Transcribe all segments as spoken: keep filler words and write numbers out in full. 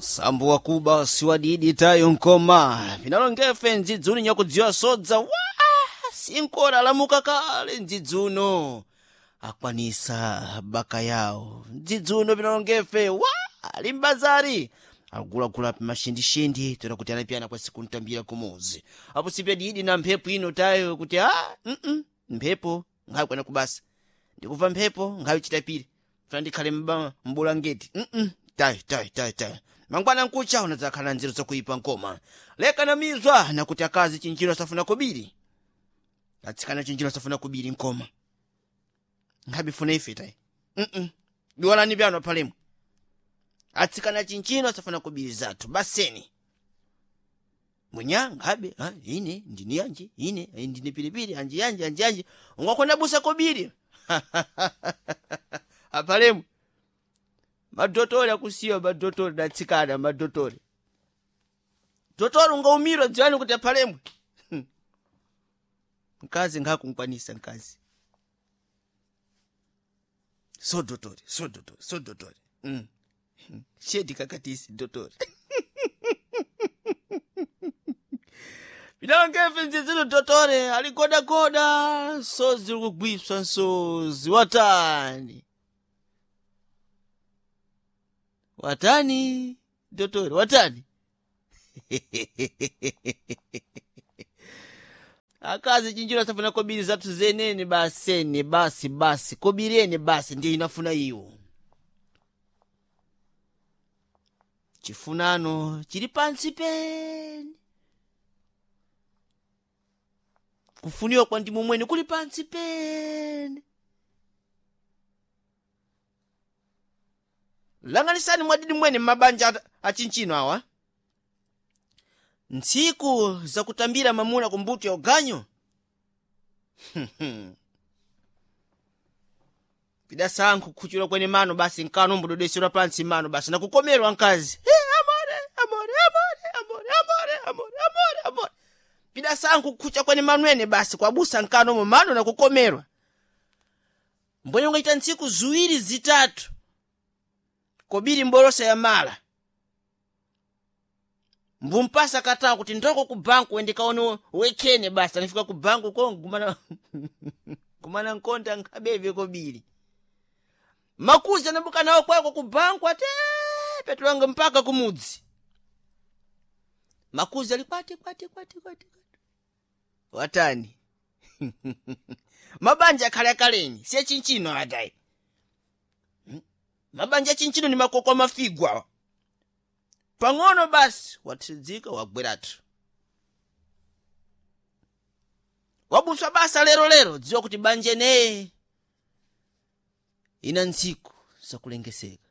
Sambo wakuba siwadidi tayo nkoma pinalongefe ndzidzuno nyakudziwa sodza wa sinkora lamuka kale ndzidzuno akwanisa baka yawo ndzidzuno pinalongefe wa ali mbazari akugulagula pamashindishindi toera kuti anapiyana kwa siku ntambira kumuzi apo sipya didi na mphepo ino tayo kuti a mm -mm, mphepo ngakwana kubasa ndikuva mphepo ngayo chitapiri fana ndikhale mba mbulangeti mm -mm. tayo tayo tayo tayo mangwana nkucha unadzakhala nzeru zakuipa nkoma leka na mizwa nakuti akazi chinjino asafuna kobiri atsikana chinjino asafuna kobiri nkoma nkhabifuna ife tayi mm -mm. diwalani pyano palemwe atsikana chinchino asafuna kobiri zathu baseni munya nkhabe ha, ine ndini yanji ine ndini pilipili anji yanji anji yanji ungakhona busa kobiri apalemwe madotori akusiwa madotori datsikana madotori dotori ungaumirwa dziwani kuti aphalemwe mkazi nkhakunkwanisa mkazi so dotori so dotori so dotori mm. shedi kakatisi dotori pinalongefe nzizino dotore aligodagoda so ziri kugwiswa nsozi watani watani dotori watani akazi chinjiro asafuna kobiri zathu zenene basene basi basi kobirene basi ndiye inafuna iwo chifunano chili pansi pene kufuniwa kwa ndimu mwene kuli pansi pene langanisani mwadidi mwene mmabanja achinchino awa ntsiku zakutambira mamuna kumbuto ya uganyo pidasankho kukhuchula kwene mano basi nkano mbudodesera pansi mano basi nakukomerwa mkazi hey, amore amore amore amore amore amore amore amore pidasankho kukhucha kwene manwene basi kwabusa nkano mo mano nakukomerwa mbwenye ungaita ntsiku ziwiri zitatu kobiri mbolosa ya mala mbumpasa katawa kuti ndoko ku banku wendikaone wekhene basi anifika ku banku ko gumana gumana nkonda nkhabeve kobiri makuzi anabuka nawo kwako ku banku ate petulanga mpaka kumudzi makuzi ali kwati kwati kwati kwati kwati watani mabanja akhale akaleni siye chinchino atayi mabanja achinchino ni makoko amafigwa awa pang'ono basi wathidzika wagweratu wabuswa basa lero lero dziwa kuti banja neye ina ntsiku zakulengeseka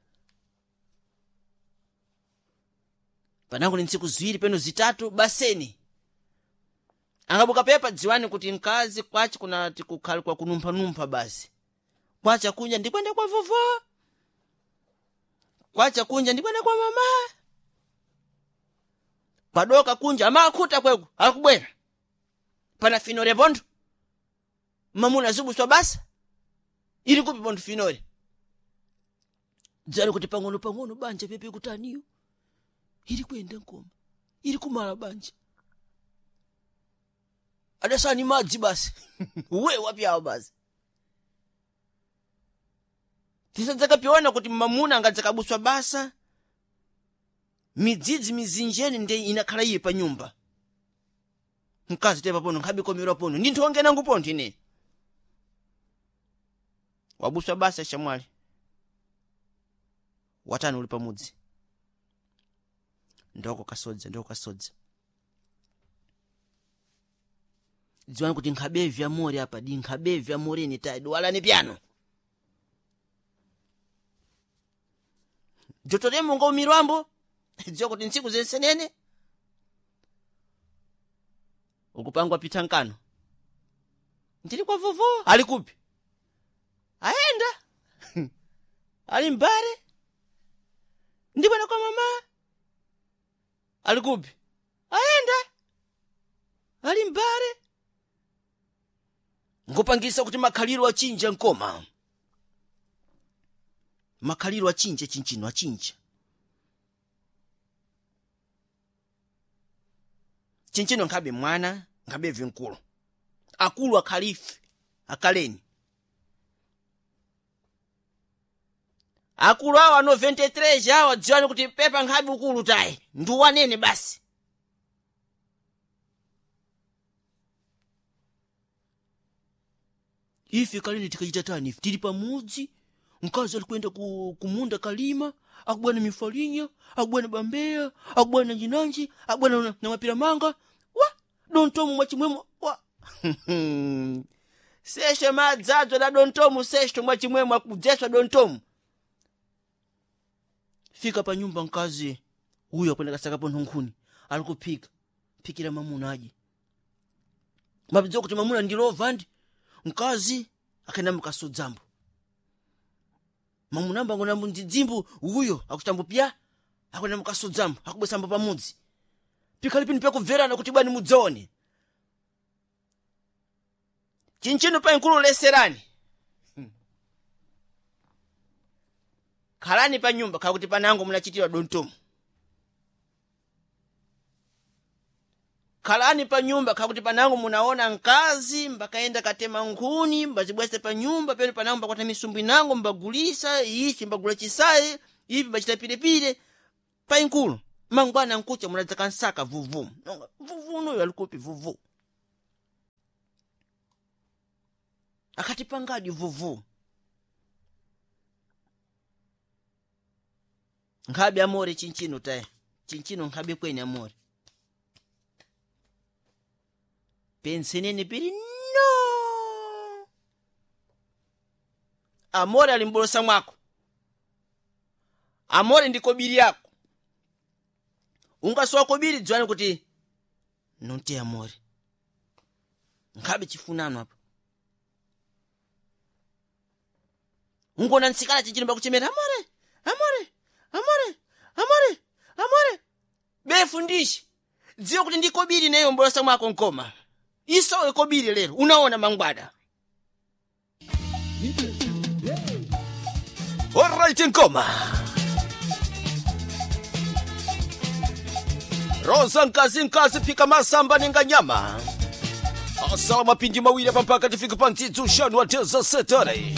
panango ni ntsiku ziwiri peno zitatu baseni angabuka pepa dziwani kuti mkazi kwachi kunati kukhali kwa kunumphanumpha basi kwacha kunja ndikwenda kwa vovo kwacha kunja ndikwenda kwa mama kwadoka kunja amakhuta kweku akubwera pana finore pontho mamuna zibuswa basa ili kupi pontho finore dzali kuti pang'ono pang'ono banja pepe kutaniyo ili kuyenda nkoma ili kumala banja adasani madzi basi we wapyawo basi tisadzakapiona kuti mamuna angadzakabuswa basa midzidzi mizinjeni nde inakhala iye pa nyumba mkazi tepa pono nkhabikomerwa pono ndinthu wangenangu pontho ine wabuswa basa shamwali watani uli pamudzi ndoko kasodza ndoko kasodza dziwani kuti nkhabevi amori apa di nkhabevi amoreni tayi duwalani pyano dzotoremo ngaumirwambo dziwa kuti ntsiku zensenene ukupangwa pita nkano ndili kwa vovo ali kupi aenda ali mbare ndibwena kwa mama ali kupi aenda ali mbare ngopangisa kuti makhaliro achinja nkoma makhaliro achinja chinchino achinja Chinchino nkhabe mwana nkhabe vinkulu akulu akhalife akaleni akulu awo ano makumi anayi ndi zitatu awo dziwani kuti pepa nkhabe ukulu tayi ndiwanene basi. Ife kaleni tikachita tani ife tili pamudzi mkazi alikwenda ku, kumunda kalima akubwana mifalinya akubwana bambeya akubwana nanjinanji akubwana na, na mapira manga wa dontomu mwachimwemwe wa seshe madzadzwa da dontomu seshe mwachimwemwe akudzeswa dontomu. Fika pa nyumba mkazi huyo akwenda kasakapo nthunkhuni alikuphika phikira mamuna aje mapidza kuti mamuna ndilova ndi mkazi akaenda mukasudzambo mamunamba ngonambo ndidzimbo uyo akutambo pya akwenda mukasudzambo akubwesambo pamudzi pikhalipini pyakubverana kuti bwani mudzaone chinchino pa nkulu leserani khalani pa nyumba khakuti panango munachitira dontomu khalani pa nyumba khakuti panango munaona mkazi mbakaenda katema nkhuni mbazibwese pa nyumba pene panango mbakwata misumbu inango mbagulisa ichi mbagula chisayi ipi mbachita pilepile pa inkulu mangwana nkucha munadzaka nsaka vuvu nonga vuvu noyo alikupi vuvu akati pangadi vuvu nkhabe amore chinchino taye chinchino nkhabe kweni amore pensenene pili no amore ali mbolosa mwako amore ndi kobiri yako ungasowa kobiri dziwani kuti nonte amore nkhabe chifunano apa ungona ntsikana chinchino bakuchemera amore amore amore amore amore befundishi dziwe kuti ndi kobiri neyo mbolosa mwako nkoma isowe kobiri lero unaona mangwada. Alright nkoma roza nkazi nkazi phika masamba ninga nyama asala mapindi mawiri apa mpaka tifike pa ntsitsi uxanu wa teza setore.